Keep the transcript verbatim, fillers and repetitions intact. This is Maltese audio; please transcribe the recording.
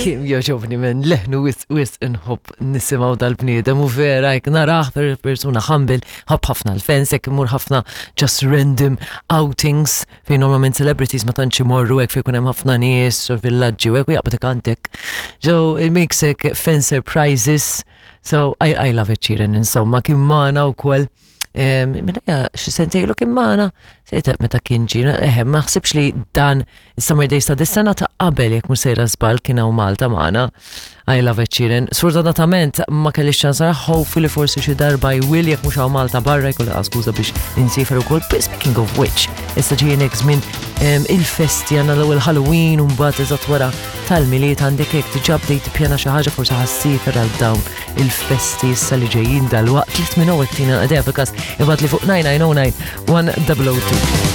Kemm jogħġobni men leħnu wisq wisq inħobb nisimgħu dal-bniedem u vera jek narah per persuna humble, ħobb ħafna l-fans, jekk imur ħafna just random outings fejn normalment celebrities ma tantx imorru hekk fejn ikun hemm ħafna nies u villaġġi u hekk u jaqbad ikantek. So it makes hekk fan surprises. So I, I love it, Sheeran, insomma, kien magħna wkoll. Minna xi sentejlu kien magħna, sejta meta kien ġie, eħe, ma ħsibx li dan is-Summer Days ta' dis-sena ta' qabel jekk mhux sejra żball kien hawn Malta magħna. I love it, Sheeran. Sfortunatament ma kellix ċans nara, hopefully forsi xi darba jwill jekk mhux hawn Malta barra jkolli skuża biex insiefer ukoll. But speaking of which, issa ġejjin hekk żmien em, il-festi, għandna l-ewwel Halloween u mbagħad eżatt wara tal-Milied, għandek hekk diġà bdejt tippjana xi ħaġa, forsi ħa ssiefer għal dawn il-festi issa li ġejjin dalwaqt. Let me know, tina idea fil-każ ibgħatli fuq nine nine zero nine one zero zero two.